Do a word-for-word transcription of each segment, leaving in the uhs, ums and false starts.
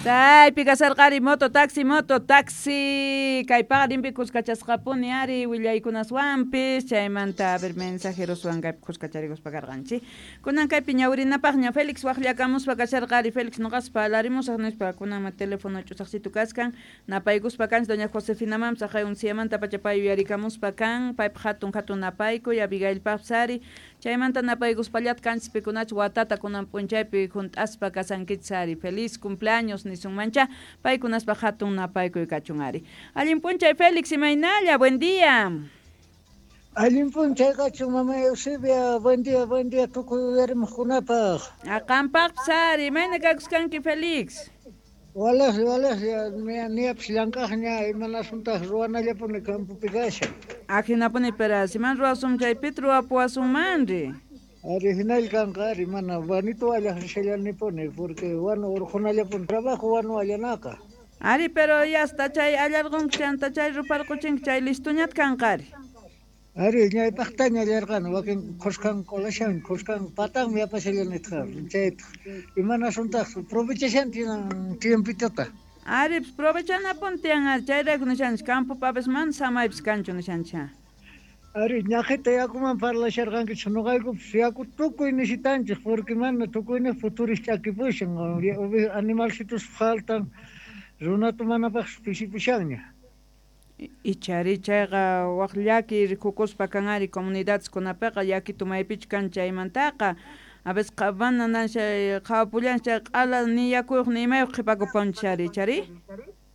Chaypi kasarqari moto taxi moto taxi kaypaqa limpi kuskachasqapuni ari willaykunaswanpis chaymanta a ver mensajeroswan kaypi kuskacharikuspa karqanchik kunan kaypi ñawrinapaqña Félix waqllakamuspa kasharqari Félix noqaspa parlarimusaq nispa kunanma teléfono ch'usaqsitu kaskan napaykuspa kanchik doña Josefinamanpas aqay unsiyamanta pacha pay yuyarikamuspa kan paypaq hatun hatun napaykuy Abigailpaqpis ari chaymanta napaykuspallata kanchis pikunach watata kunan p'unchaypi hunt'aspa kasankichis ari feliz cumpleaños nisunmancha paykunaspa hatun napaykuy kachun ari allin p'unchay Félix imaynalla buen día. Allin p'unchay kachun mama Eusebia buen día buen día tukuy uyarimuqkunapaq. Qampaqpis ari imayna kakuskanki Félix. Walaqlla walaqlla niyapis llank'aqña imanasuntaq ruwanallapuni campopi kashan. Ajinapuni pero siman ruwasun chaypita ruwapuwasunmanri. Ari hinalla kanqa ari mana bonito allaq rishallanipuni porque wanu urqunallapuni trabajo wanu allanaqa. Ari pero ya hasta chay allarqunki chanta chay ruparquchinki chay listuñata kanqa ari. Ari ñaypaqtaña allarqani wakin khuskan qolashan khuskan patanmi yapashallanitqa chayta imanasuntaq provechashan tiempitota. Ari pues provechanapuni tiyan ari chayrayku nishanchik campopi a veces mana samaypis kanchu nishanchik. Ari ñaqhita yakuman parlasharqankichik noqaykupis yaku tukuy necesitanchik porque mana tukuyniq futuris ch'akipushan animalcitos faltan runata manapaqpis pisipushanña. Ichari chayqa waq llaki rikukuspa kan ari comunidadeskunapiqa llakitu maypichu kan chaymantaqa a veces mana nanshay qhawapullanchik chay q'ala ni yakuyuq ni imayuq qhipakupunchik ari ichari.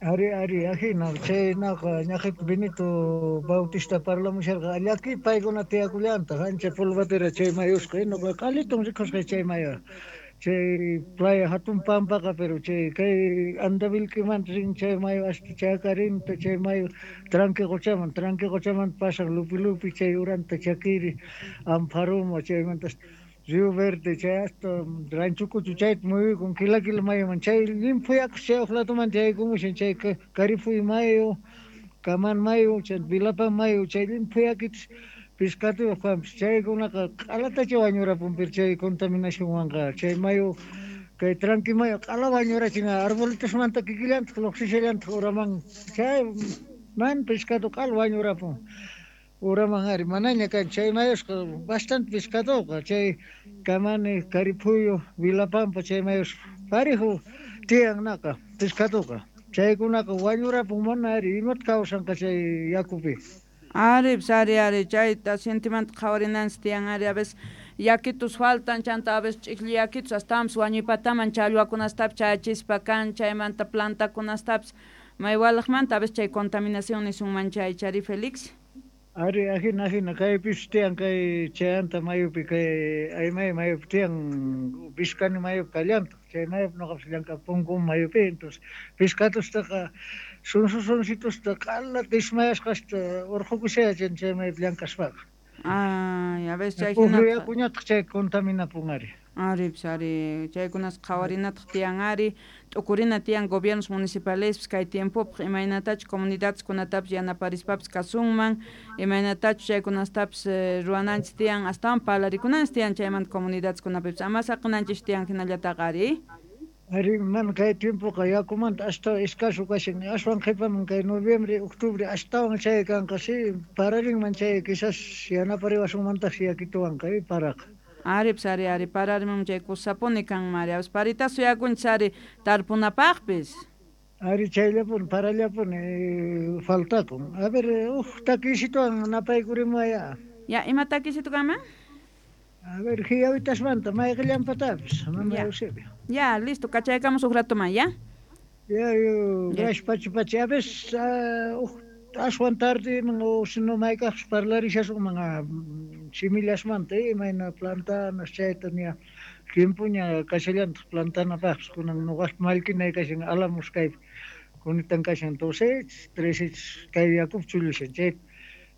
Ari ari ajina chaynaqa ñaqhita Benito Bautista parlamusharqa llaki paykuna tiyakullantaq ancha polvatera chay mayusqa nuqa q'alitun rikusqa chay mayu chay playa hatun pampaqa pero chay kay Andavilquimanta rin chay mayu hasta Chacarinta chay mayu Tranque Qochaman Tranque Qochaman pasaq Lupi Lupi chay uranta Chaquiri Ampharuma chaymanta Río Verde chay hasta Rancho Cucho chayta muyuykun kila kila mayuman chay llimphu yakus chay uqlatumanta yaykumushan chay Carifuy mayu Kaman mayu chay Vilapan mayu chay llimphu yakitas pescaduyuq kanpis chaykunaqa q'alatacha wañurapun pero chay contaminacionwanqa chay mayu kay Tranque mayu q'ala wañurachin arbolitosmanta kikillantaq lluqsishallantaq uraman chay man pescado q'ala wañurapun uraman ari manaña kan chay mayusqa bastante pescadoqa chay Kamani Caripuyo Vilapampa chay mayusqa parejo tiyannaqa pescadoqa chaykunaqa wañurapun mana ari imata kawsanqa chay yakupi. Ari, pues ari, ari, chayta sentimanta qhawarinanchik tiyan ari, a veces yakitus faltan, chanta a veces ch'ikli yakitus astawanpis wañuypataman challwakunastapis chayachispa kan, chaymanta plantakunastapis maywalaqmanta a veces chay contaminación nisunman chay chari Félix. Ari, ajina, ajina, kaypis tiyan kay chayanta mayupi kay aymay mayupi tiyan Vizcani mayupi kallantaq chay mayupi noqapis llank'apunku mayupi entonces pescadostaqa sunsu sunsitusta q'ala ismayasqasta urqukushayachin chay mayupi llank'aspaqa. Ay, a veces chay Pukyu hinata yakuñataq chay contaminapun ari. Ari, pues ari, chaykunas qhawarinataq tiyan ari, t'ukurina tiyan gobiernos municipalespis kay tiempopaq imaynatachu comunidadeskunatapis yanaparispapis kasunman, imaynatachu chaykunastapis ruwananchik tiyan, astawan parlarikunanchik tiyan chaymanta comunidadeskunapipis, ama saqinanchik tiyan hinallataqa ari. Ari, mana kay tiempoqa yakumanta astawan escaso kashan, aswan qhipaman kay noviembre, octubre astawan chay kanqa si pararinman chay quizás yanapariwasunmantaqsi yakituwanqa paraqa. Ari, pues ari, ari, pararimun chay kusapuni kanman ari, a veces parita suyakunchik ari tarpunapaqpis. Ari chayllapuni parallapuni faltakun. A ver, uj takisituwan napaykurimaya. Ya, ima takisitu kanman? A ver, hiyawitasmanta mayqillanpatapis, mama Eusebio. Ya, listo, kachaykamus uj ratoman, ya? Ya, yo, gracias, pachi, pachi. A veces, uh, aswan tarde, o si no maykaqpis parlarishasunman simillasmanta, imayna plantanas chayta ña tiempoña kashallantaq plantanapaqpis kunan nuqaspa mallkinay kashan Álamos kaypi kunitan kashan doce, trece kay yakupi chullushan chayta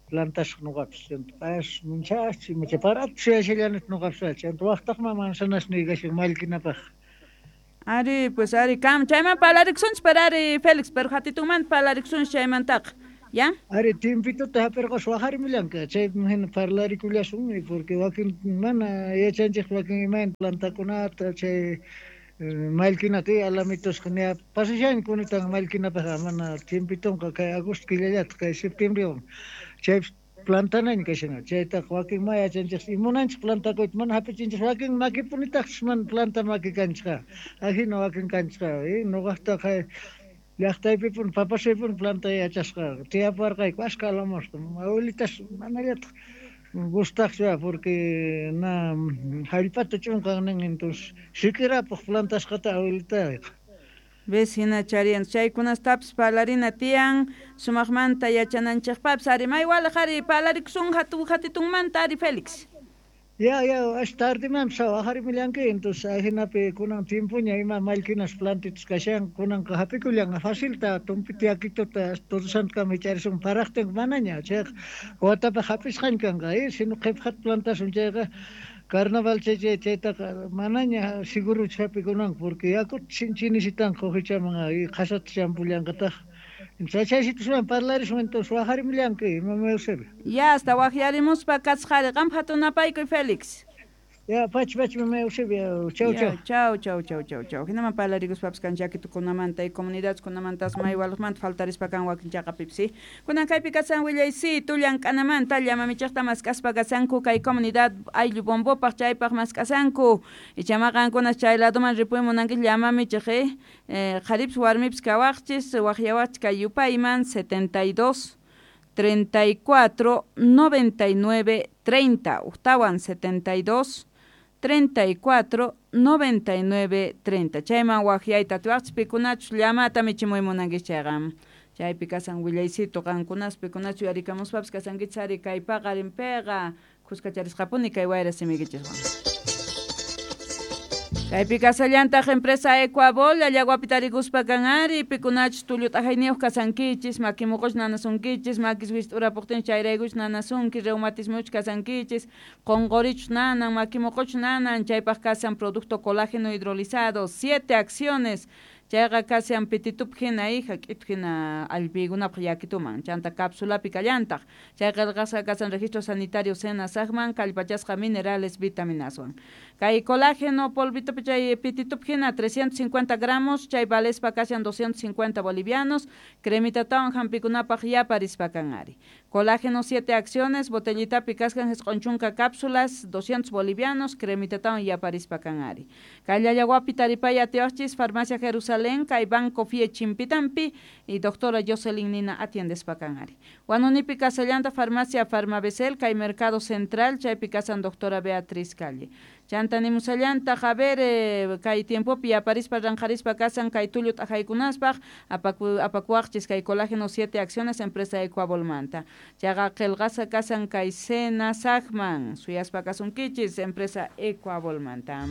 plantasaq nuqapis chanta pas munchas imacha parata suyashallanita nuqapis chanta waqtaqman manzanasniy kashan mallkinapaq. Ari, pues ari, kam chayman parlarikusunchik pero ari Félix, pero hatitunmanta parlarikusunchik chaymantaqa. ¿Ya? Ari, tiempitota hap'irqas waqarimullanqa chaypi hina parlarikullasunmi porque wakin mana yachanchik wakin imayna plantakunata chay Mallkinata alamitusqa ña pasashan kunitan mallkinapaq mana tiempitonqa kay agosto killallataq kay septiembrewan chaypis plantanaña kashan chaytaqa wakin ma yachanchis munanchik plantakuyta mana hap'ichinchis wakin makipunitaqchis mana planta maki kanchikqa ajina wakin kanchikqa ñuqaqtaqa llaqtaypipuni papasaypuni planta yachasqa tiyaparqayku ashka alamosqa abuelitas manallataq gustaqchu porque na hallp'ata ch'unqan nin entonces sikirapaq plantasqata abuelitayqa. Ves hina charian chaykunastapis parlarina tiyan sumaqmanta yachananchikpapis ari maywalaq ari parlarikusun hatu hatitunmanta ari Félix. Ya, ya, as tardeman sawajarimillanki, entonces ajinapi kunan tiempoña ima mallkinas plantitas kashan kunanqa hap'ikullan facilta tumpita yakituta Todo Santokaman hich'arisun paraqtin manaña chayqa watapaq hap'isqaña kanqa eh sino qhipaqata plantasun chayqa carnaval chay chay chaytaqa manaña seguruchu hap'ikunanqa porque yakuta sinchi necesitanqa uhichaman qhasata champullanqataq. Chaysituswan parlarisun entonces wajarimillanki mama Eusebio. Ya hasta wajyarimuspa kasqari qam hatunapaykuy Félix. Ya pachi pachi mama Eusebio chau chau. Chau chau chau chau chau. Hinaman parlarikuspapis kan llakitukunamanta y comunidadeskunamanta maywalaqmanta faltarispa kan wakin chaqapipis. Kunan kaypi kasan willaysitu llank'anamanta llamamichaqta mask'aspa kasanku kay comunidad ayllu bombopaq chaypaq mask'asanku. Ichama qankunas chay ladoman ripuy munanki llamamichaq eh qharipis warmipis kawaqchis waqyawaqchis kay yupayman setenta y dos treinta y cuatro noventa y nueve treinta ujtawan setenta y dos treinta y cuatro noventa y nueve treinta. Chayman waqyayta atiwaqchis pikunachus llamata michimuy munankichis chayqa. Chaypi kasan willaysitu qankunas pikunachu yarikamuspapis kasankichis ari kay paqarinpiqa khuskacharisqapuni kay wayra simikichiswan. Kaypi kasallantaq empresa Ecuabol llawapi tarikuspa kan ari pikunachus tullu t'ajayniyuq kasankichis makimuquch nanasunkichis makis wist'urapuqtin chayraykuch nanasunki reumatismuch kasankichis qunqurichus nanan makimuquch nanan chaypaq kasan producto colágeno hidrolizado siete acciones chayqa kasan pititup hina hija k'itu hina allpiykunapaq yakituman chanta cápsulapi kallantaq chay qillqasqa kasan registro sanitario SENASAGman kallpachasqa minerales vitaminaswan kay colágeno polvitupi chay pititup hina trescientos cincuenta gramos chay valespa kasan doscientos cincuenta bolivianos cremitatawan hampikunapaq yaparispa kan ari colágeno siete acciones botellitapi kaskan jisq'un chunka cápsulas doscientos bolivianos cremitatawan yaparispa kan ari kay llallawapi taripay atiwaqchis farmacia Jerusalén kay Banco Fie Chimpitampi y doctora Jocelyn Nina atiendespa kan ari Huanunipi kasallanta farmacia Farmabesel kay Mercado Central chaypi kasan doctora Beatriz Calle chanta nimusallanta a ver eh, kay tiempopi yaparispa ranqarispa kasan kay tullu t'ajaykunaspaq apaku apakuwaqchis kay colágeno siete acciones empresa Ecuabolmanta chayqa qillqasqa kasan kay SENASAGman suyaspa kasunkichis empresa Ecuabolmanta.